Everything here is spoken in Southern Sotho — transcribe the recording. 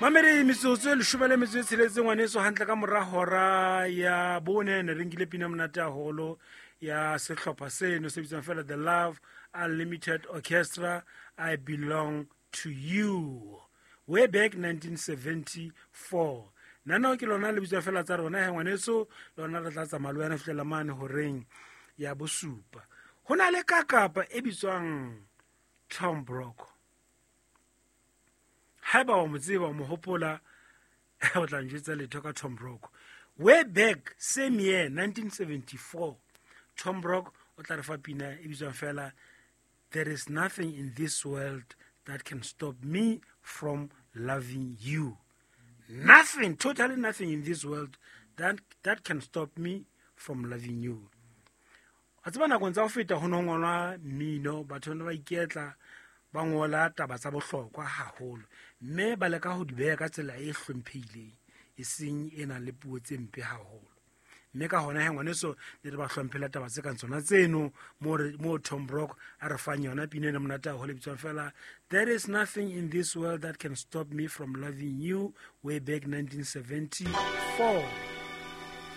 Mamedi, metsotso e leshome le metso e tsheletseng, ngwaneso, hantle ka mora hora ya bone. Ne re nkile pina monate haholo ya sehlopha seno se bitswang fela The Love Unlimited Orchestra, "I Belong to You", way back 1974. Nanao ke lona le bitswa fela tsa rona he, ngwaneso. Lona re tla tsamaya le wena fihlela mane horeng ya bosupa. Ho na le kakapa e bitswang Tom Brock. Haeba wa mo tseba, wa mo hopola, o tla njwetsa letho ka Tom Brock way back same year, 1974. Tom Brock o tla re fa pina e bitswang fela "There Is Nothing in This World That Can Stop Me from Loving You". Nothing, totally nothing in this world that can stop me from loving you. A tseba nakong tsa ho feta ho no ngolwa mmino, batho ne ba iketla ba ngola taba tsa bohlokwa haholo, mme ba leka ho di beha ka tsela e hlomphehileng, e seng e nang le puo tse mpe haholo. Mme ka hona he, ngwaneso, ne re ba hlomphela taba tse kang tsona tseno. Mo Tom Brock a re fang yona pina ena monate haholo e bitswang fela "There Is Nothing in This World That Can Stop Me from Loving You", way back 1974.